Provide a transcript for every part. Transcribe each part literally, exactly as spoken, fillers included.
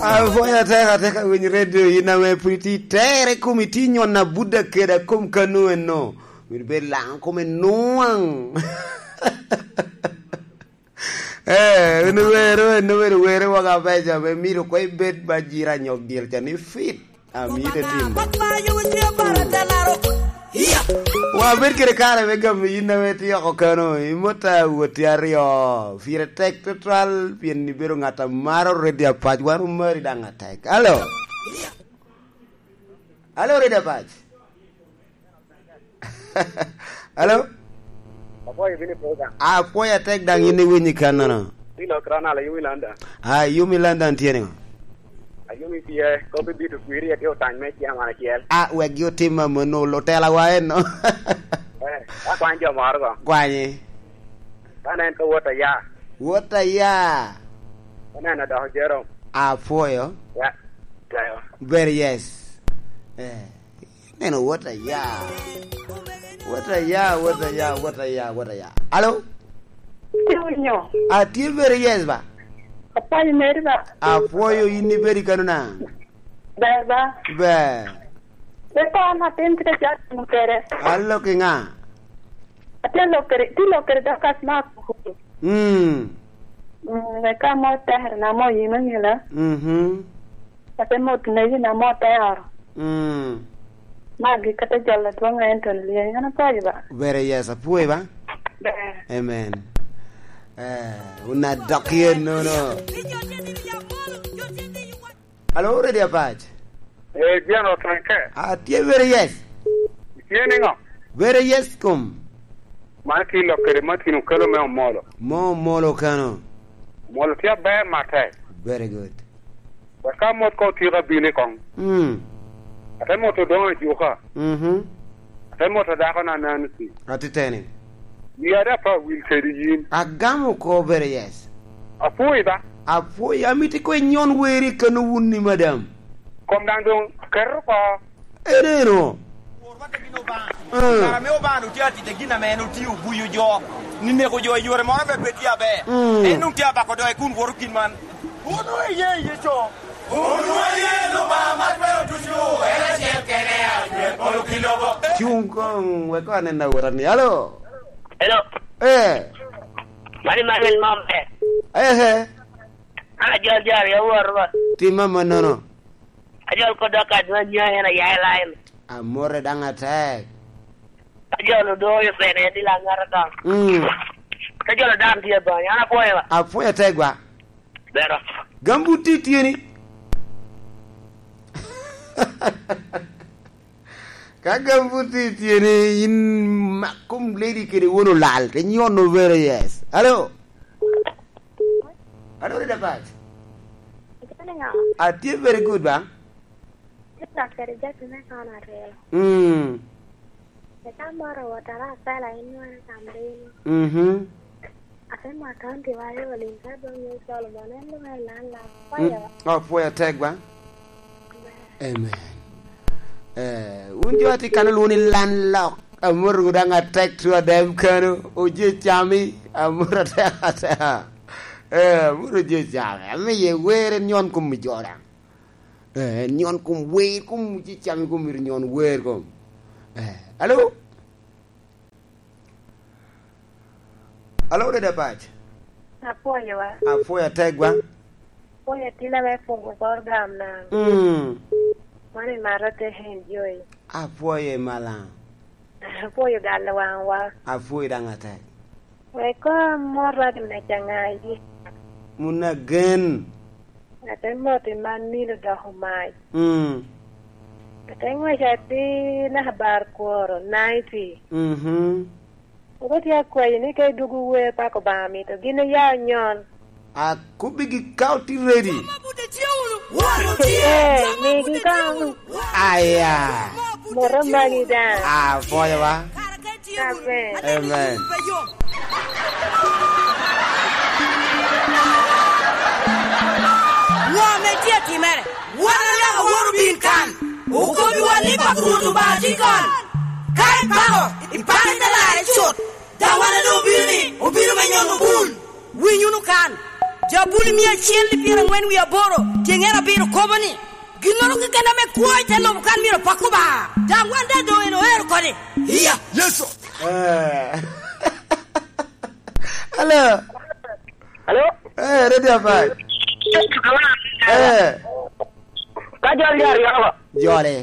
Apwoyo atek, atek awiny redio, in ame pwod itye tere kom, itye nyono abuda kede akom kano eno. Myero bed laŋ kome nwaŋ. Eh, en wero, en wero, wero waka beca, me mito ko ibed ba jira nyok dyel ca ni fit. Amite tim. Wabed kede kare me gamo yin ame tye oko kano, i mota woti aryo. Pire tek tutwal, pien ibedo ŋat a maro Redi Apac. Wan omari daŋ atek. Alo? Alo, Redi Apac? Alo? Apwoyo bino i program. Apwoyo atek daŋ in iwinyo i kannono. Bilo Kronal, ayumi London. Ah, yumi London tye niŋo? Ayumi tye, kop i bito kwiri, atye otany me ciaman acel. Ah, wek gi otim amono, lutela wa eno. Eh, akwany jo moro go. Kwanyi. Ka nen ka wot aya. Wot aya. Ka nen adoko Jerome. Apwoyo. Ya. Tayo. Very yes. Eh. Neno, what a ya. What a ya, what a ya, what a ya, what a ya. Alo? Tye winyo. Atye very yes ba? Apwoyo meri ba? Apwoyo in ibedi kano na? Ber ba? Ber. Ber ba, an atin kite jat mo kere. Alo ki ŋa? Atye lok kede, tye lok kede Dorcas Mark. Mm. Mm, wek ka mo tekere na mo yim angela. Mhm. Ate mot negi na mo tero. Mm. Magi kata jol adwoŋ Anthony Lyeny, an apwoyo ba. Very yes, apwoyo ba. Ber. Amen. Eh, una dok yen nono. Alo, Redi Apac? Eh, Jeno Tanke. Ah, tye very yes. Tye niŋo? Very yes kom. Man ki lok kede Martin Okelo me Omolo. Mo Omolo kano. Omolo tye aber matek. Very good. Wek ka mot ko otyeko abino i koŋ. Mm. Ate moto doŋ ajuka. Mhm. Ate moto dako na Nancy. Atiteni. Yia da pa wil kedi yin. Agamo ko very yes. Apwoyi ba? Apwoyi, amito ko inyon weri kano wun ni madam. Kom daŋ doŋ aketo oko. Eneno. Wor wate gin Obaŋa. Mm. Kara me Obaŋa otye atic a gin ame en otio obuyo jo, ni neko jo i yore moro ame pe tye aber. Mm. En doŋ tye abako doge kun woro gin man. Wun wun iye iye co. Wun wun iye Obaŋa ma twero ducu, en acel kene a cwer polo ki lobo. Cuŋ koŋ, wek anena wora ni. Alo? Hello. Eh. Mani Manuel Mombe. Eh, eh. An ajol jo aryo woro ba. Tim amannono. Ajol kod dok adwa nya en aya i line. Amore daŋ atek. Ajol odoyo pene en dila ŋata daŋ. Mm. Ajol adam tye banya, an apwoyo ba. Apwoyo atek gwa. Bero. Gambut tye tyeni. Ka gambut tye tyeni, in mak kom lady kede won olal, te nyono very yes. Alo? Alo, Redi Apac? Atye niŋo? Atye very good, ba? Tye lak kede jami me kono aryo. Mm. Eka moro wot ara apela inwere kambini. Mhm. Ate mot on diwayo olim ka dong yo Solomon, en luŋ en lan lan. Mm. Pwoyo. Oh, pwoyo atek, ba? Amen. Eh, wun jo atye kano lwongo ni landlord. Amoto daŋ atek tu adem kano. Oje cami. Amoto atek atek. Eh, amoto oje cami. Amiye wer en nyon kom mi jo daŋ. Eh, en nyon kom wer kom oje cami kom myero nyon wer kom. Eh, alo? Alo, Redi Apac? Apwoyo wa. Apwoyo atek gwa. Apwoyo atina me pungo program na. Mm. Mano imato te enjoy. Apwoyo i malaŋ. Apwoyo galo waŋwa. Apwoyo daŋ atek. Wek koŋ amot radio me Cangayi. Mun agen. Ate mot i man nino doko mac. Mm. Ate ngwec atir naka bar kworo, ninety. Mhm. Ogo tye akwayi ni ka idwogo wer pako Obaŋa mito gin iya onyon. Akobbi gi ka oti ready. Eh, migi koŋ. Aya. Moto magi daŋ. Ah, apwoyo wa. Amen. Amen. Ŋo ame tye atimere? Wan alaka woro bin kan. Okobiwa ni Pap Rwot Obaŋa tye kan. Ka ipako, ipako i te larre cut. Daŋ wan adu obino ni, obino me nyono bul. Winy wunu kan. Jabuli mia acel i pyerangwen wie aboro, tyeŋere abiro. Ni, ginnoro keken ame kwo i te lobo kan myero opako Obaŋa. Daŋ wan daŋ doŋ en oero kodi. Iya. Yecu. Eh. Hello. Hello? Eh, Radio Five. Eh. Ka jol yar yoko. Jole.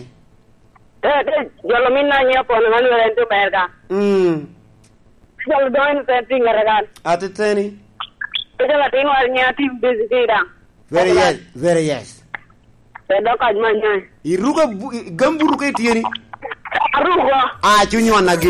Eh, eh, jolo min na nyia pono man wera en to ber ka. Mm. Jolo doŋ en sen ti ŋere kan. Atiteni. Jolo atin war nyia tim busy ti daŋ. Very yes, very yes. Pe dok kac man nyai. Iruko bu-, i-, gambutu ka ityeni? Aruko. Ah, cuny wan agi.